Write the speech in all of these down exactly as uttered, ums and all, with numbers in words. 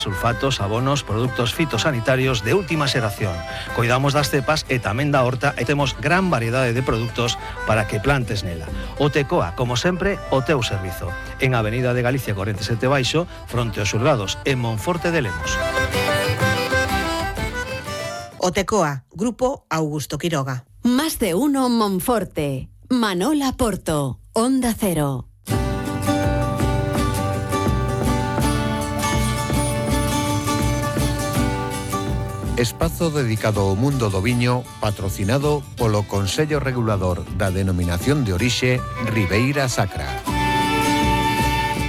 sulfatos, abonos, produtos fitosanitarios de última xeración. Coidamos das cepas e tamén da horta e temos gran variedade de produtos para que plantes nela. O Tecoa, como sempre, o teu servizo. En Avenida de Galicia corenta e sete Baixo, fronte aos xulgados, en Monforte de Lemos. O Tecoa, Grupo Augusto Quiroga. Más de uno Monforte. Manola Porto, Onda Cero. Espazo dedicado ao mundo do viño, patrocinado polo Consello Regulador da Denominación de Orixe Ribeira Sacra.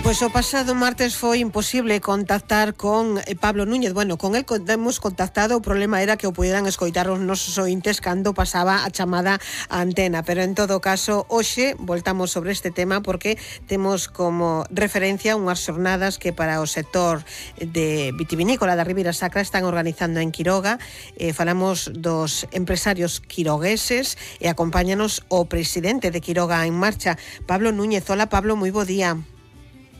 Pois o pasado martes foi imposible contactar con Pablo Núñez. Bueno, con el hemos contactado, o problema era que o puderan escoitar os nosos ointes cando pasaba a chamada a antena, pero en todo caso, hoxe voltamos sobre este tema porque temos como referencia unhas xornadas que para o sector de vitivinícola da Ribeira Sacra están organizando en Quiroga. Eh, falamos dos empresarios quirogueses e acompáñanos o presidente de Quiroga en Marcha, Pablo Núñez. Hola, Pablo, moi bo día.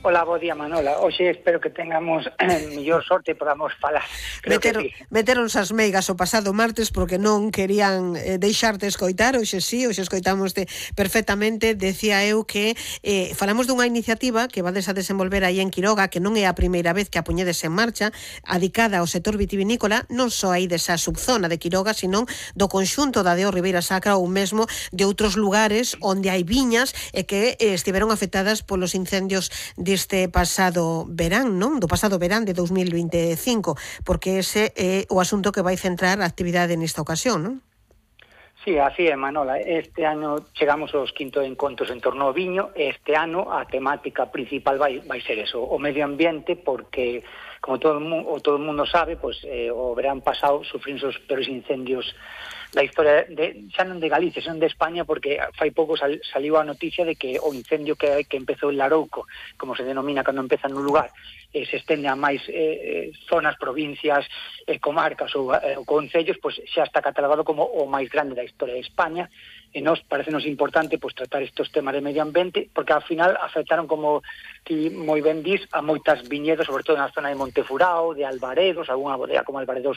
Hola, bo día, Manola. Hoxe espero que tengamos eh, mellor sorte e podamos falar. Meteron, sí. Meteronse as meigas o pasado martes porque non querían eh, deixarte escoitar. Hoxe sí, hoxe escoitamoste perfectamente. Decía eu que eh, falamos dunha iniciativa que vades a desenvolver aí en Quiroga, que non é a primeira vez que a poñedes en marcha, adicada ao sector vitivinícola, non só aí desa subzona de Quiroga, sino do conxunto da Deo Ribeira Sacra ou mesmo de outros lugares onde hai viñas e que eh, estiveron afectadas polos incendios de este pasado verán, non? Do pasado verán de dos mil veinticinco, porque ese é o asunto que vai centrar a actividade nesta ocasión, non? Sí, así é, Manola. Este ano chegamos aos quinto encontros en torno ao viño e este ano a temática principal vai, vai ser eso, o medio ambiente, porque como todo o mundo, todo o mundo sabe, pues, eh, o verán pasado sufrimos os peores incendios da historia de, xa non de Galicia, xa non de España, porque fai pouco sal, saliu a noticia de que o incendio que, que empezou en Larouco, como se denomina cando empeza nun lugar, eh, se estende a máis eh, zonas, provincias, eh, comarcas ou, eh, ou concellos, pues, xa está catalogado como o máis grande da historia de España. E nos parecenos importante pues, tratar estes temas de medio ambiente, porque ao final afectaron, como ti moi ben dis, a moitas viñedos, sobre todo na zona de Montefurao, de Albaredos, algunha bodega como Albaredos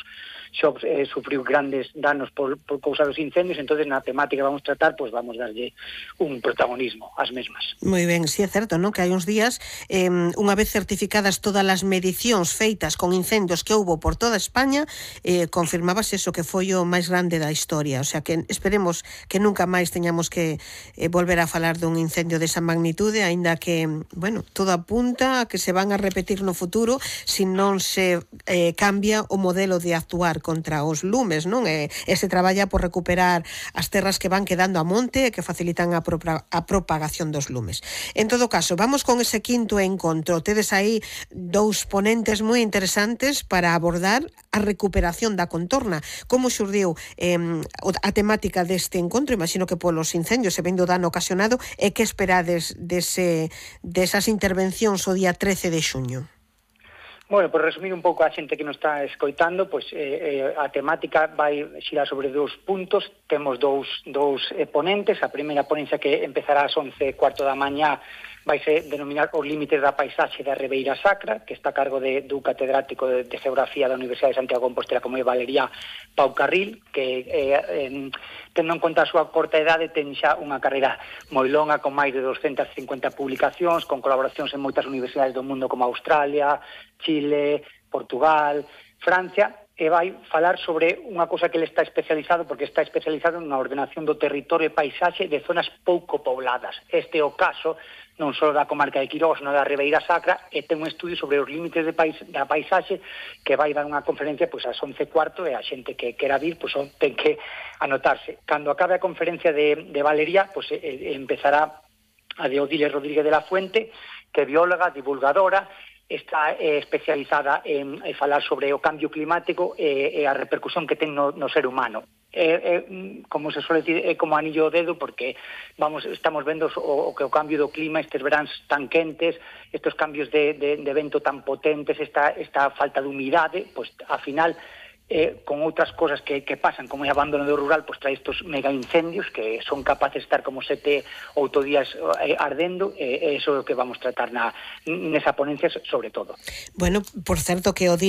Shops eh, sufriu grandes danos por, por causa dos incendios. Entonces na temática que vamos tratar, pues vamos darlle un protagonismo ás mesmas. Moi ben, si sí, é certo, non? Que hai uns días, eh, unha vez certificadas todas as medicións feitas con incendios que houbo por toda España, eh, confirmabas eso, que foi o máis grande da historia. O sea que esperemos que nunca máis teñamos que eh, volver a falar dun incendio desa magnitude, aínda que, bueno, todo apunta a que se van a repetir no futuro se non se eh, cambia o modelo de actuar contra os lumes, non? E, e se traballa por recuperar as terras que van quedando a monte e que facilitan a, pro, a propagación dos lumes. En todo caso, vamos con ese quinto encontro. Tedes aí dous ponentes moi interesantes para abordar a recuperación da contorna. Como xurdiu eh, a temática deste encontro? Imagino que polos incendios se vendo dano ocasionado, e que esperades dese, desas intervencións o día trece de xuño? Bueno, por resumir un pouco a xente que nos está escoitando, pues, eh, a temática vai xirar sobre dous puntos. Temos dous, dous eh, ponentes. A primeira ponencia, que empezará ás once e cuarto da mañá, vai ser denominar os límites da paisaxe da Ribeira Sacra, que está a cargo de, do catedrático de, de Geografía da Universidade de Santiago de Compostela, como é Valeria Pau Carril, que eh, eh, tendo en conta a súa corta idade, ten xa unha carreira moi longa, con máis de doscientas cincuenta publicacións, con colaboracións en moitas universidades do mundo como Australia, Chile, Portugal, Francia, e vai falar sobre unha cousa que ele está especializado, porque está especializado na ordenación do territorio e paisaxe de zonas pouco pobladas. Este é o caso non só da comarca de Quiroga, senón da Ribeira Sacra, e ten un estudio sobre os límites de pais, da paisaxe, que vai dar unha conferencia pois, ás once e cuarto, e a xente que quera vir pois, ten que anotarse. Cando acabe a conferencia de, de Valeria, pois, eh, empezará a de Odiles Rodríguez de la Fuente, que é bióloga, divulgadora, está eh, especializada en, en falar sobre o cambio climático e, e a repercusión que ten no, no ser humano. Eh, eh, como se suele decir, é como anillo ao dedo, porque vamos estamos vendo o, o que o cambio do clima, estes veráns tan quentes, estes cambios de, de, de vento tan potentes, esta, esta falta de humidade, pues, ao final, eh, con outras cosas que, que pasan, como é abandono do rural, pues trae estos mega incendios que son capaces de estar como sete, oito días eh, ardendo, e eh, eso é o que vamos tratar na, nesa ponencia sobre todo. Bueno, por certo que o